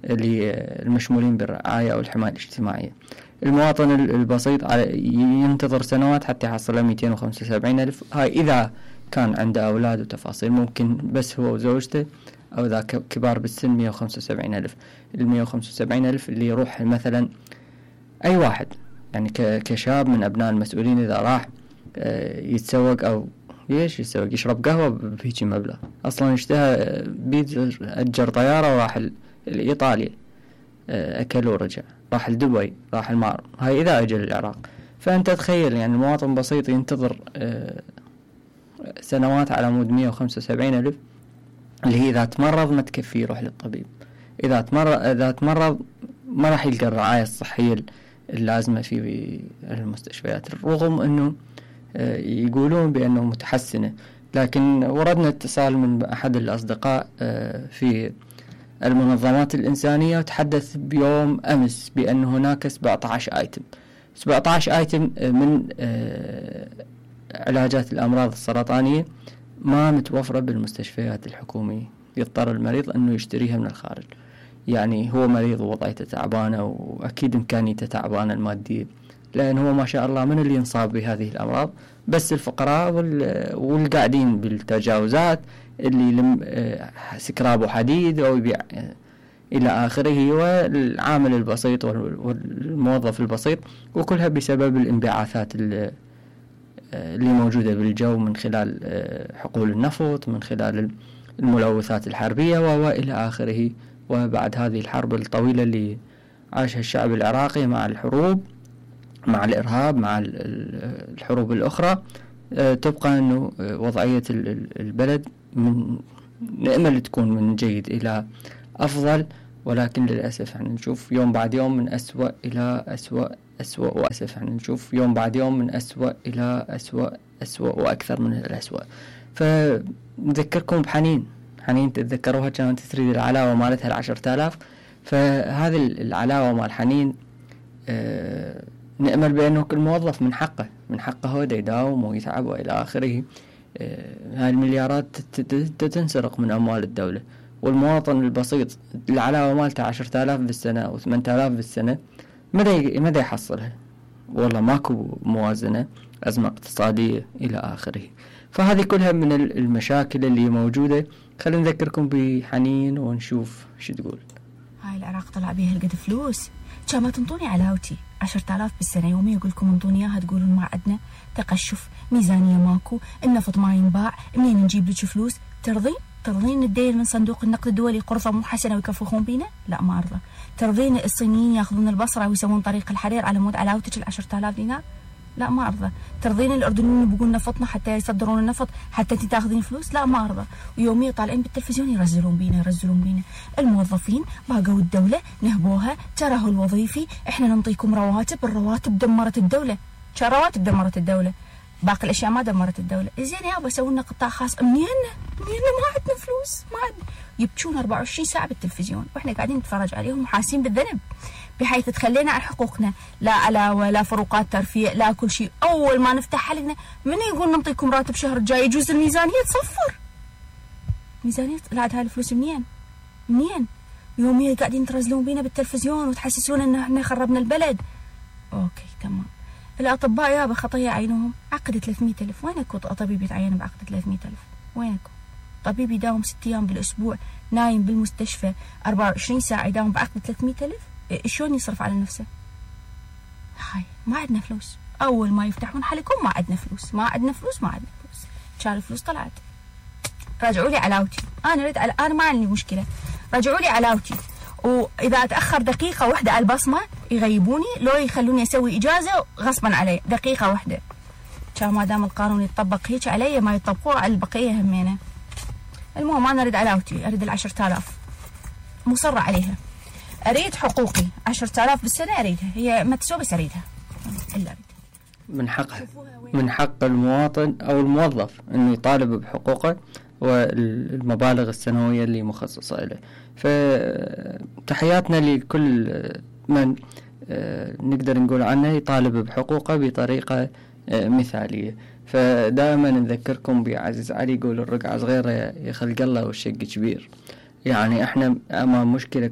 المشمولين بالرعاية أو الحماية الاجتماعية. المواطن البسيط ينتظر سنوات حتى يحصل 275 ألف. هاي إذا كان عنده أولاد وتفاصيل، ممكن بس هو وزوجته أو إذا كبار بالسن 175 ألف. 175 ألف اللي يروح مثلا أي واحد يعني كشاب من أبناء المسؤولين إذا راح يتسوق أو يسوق يشرب قهوة بهيجي مبلغ، أصلا اشتهى بيت أجر طيارة وراح لإيطاليا أكل ورجع، راح لدبي، راح المعرض. هاي إذا أجل العراق. فأنت تخيل يعني المواطن بسيط ينتظر سنوات على مود 175 ألف، اللي هي إذا تمرض ما تكفي يروح للطبيب، إذا تمرض ما راح يلقى الرعاية الصحية اللازمة في المستشفيات، رغم أنه يقولون بأنه متحسنة. لكن وردنا اتصال من أحد الأصدقاء في المنظمات الإنسانية وتحدث بيوم أمس بأن هناك 17 آيتم من علاجات الأمراض السرطانية ما متوفرة بالمستشفيات الحكومية، يضطر المريض أنه يشتريها من الخارج. يعني هو مريض ووضعيته تعبانة وأكيد إمكانيته تعبانة المادية، لأن هو ما شاء الله من اللي ينصاب بهذه الأمراض بس الفقراء والقاعدين بالتجاوزات اللي يلم سكراب وحديد أو يبيع إلى آخره، والعامل البسيط والموظف البسيط، وكلها بسبب الانبعاثات اللي موجودة بالجو من خلال حقول النفط، من خلال الملوثات الحربية وإلى آخره. وبعد هذه الحرب الطويلة اللي عاشها الشعب العراقي مع الحروب، مع الإرهاب، مع الحروب الأخرى، تبقى أنه وضعية البلد نأمل تكون من جيد إلى أفضل، ولكن للأسف يعني نشوف يوم بعد يوم من أسوأ إلى أسوأ وأسف، يعني نشوف يوم بعد يوم من أسوأ إلى أسوأ وأكثر من الأسوأ. فنذكركم بحنين تتذكروها كانت تريد العلاوة مالتها 10,000. فهذه العلاوة مال حنين نأمل بأنه كل موظف من حقه هو يداوم ويتعب وإلى آخره. هاي المليارات تنسرق من أموال الدولة، والمواطن البسيط العلاوة مالته 10,000 بالسنة أو 8,000 بالسنة ماذا يحصلها؟ والله ماكو موازنة، أزمة اقتصادية إلى آخره. فهذه كلها من المشاكل اللي موجودة. خلينا نذكركم بحنين ونشوف شو تقول. هاي العراق طلع بيها القد فلوس، كان ما تنطوني علاوتي 10,000 بالسنة، يومي يقول لكم انطوني اياها تقولون ما عندنا، تقشف، ميزانية ماكو، النفط ما ينباع، منين نجيب لك فلوس؟ ترضين الدين من صندوق النقد الدولي قرضة مو حسنة ويكفخون بينا؟ لا ما أرضى. ترضين الصينيين ياخذون البصرة ويسوون طريق الحرير على مود علاوتك 10,000 دينار؟ لا ما أرضى. ترضين الأردنيين يبقون نفطنا حتى يصدرون النفط حتى انت تاخذين فلوس؟ لا ما أرضى. ويوميا طالعين بالتلفزيون يرزلون بينا. الموظفين باقوا الدولة نهبوها، تراه الوظيفي، احنا ننطيكم رواتب، الرواتب دمرت الدولة. كان رواتب دمرت الدولة، باقي الأشياء ما دمرت الدولة. زين يابا سووا لنا قطاع خاص، منين ما عندنا فلوس، ما عندنا. يبكون 24 ساعة بالتلفزيون واحنا قاعدين نتفرج عليهم وحاسين بالذنب، بحيث تخلينا عن حقوقنا، لا علاوة لا فروقات ترفيه لا كل شيء. أول ما نفتح حلقنا من يقول نعطيكم راتب شهر الجاي، يجوز الميزانية تصفر. ميزانية طلعت هاي الفلوس منين؟ يوميا قاعدين ترزلون بينا بالتلفزيون وتحسسون ان احنا خربنا البلد. اوكي تمام. الأطباء يابا خطية عينهم، عقد 300,000. وينكم طبيب يتعين بعقد 300,000؟ وينكم طبيب يداوم 6 أيام بالأسبوع نايم بالمستشفى 24 ساعة يداوم بعقد 300,000؟ شلون يصرف على نفسه؟ هاي ما عندنا فلوس. أول ما يفتحون حلقهم ما عندنا فلوس. كان الفلوس طلعت. راجعوا لي علاوتي، أنا ما عندي مشكلة، راجعوا لي علاوتي. وإذا أتأخر دقيقة واحدة على البصمة يغيبوني، لو يخلوني أسوي إجازة غصبا علي دقيقة واحدة. كان ما دام القانون يتطبق هيك علي ما يطبقوه على البقية همينة. المهم أنا أريد علاوتي، أريد 10,000 مصرة عليها، أريد حقوقي 10,000 بالسنة أريدها، هي ما تسوى بس أريدها إلا أريدها. من حق المواطن أو الموظف أنه يطالب بحقوقه والمبالغ السنوية اللي مخصصة له. فتحياتنا لكل من نقدر نقول عنه يطالب بحقوقه بطريقة مثالية. فدائما نذكركم بعزيز علي يقول الرقعة صغيرة يخلق الله والشق كبير. يعني احنا امام مشكلة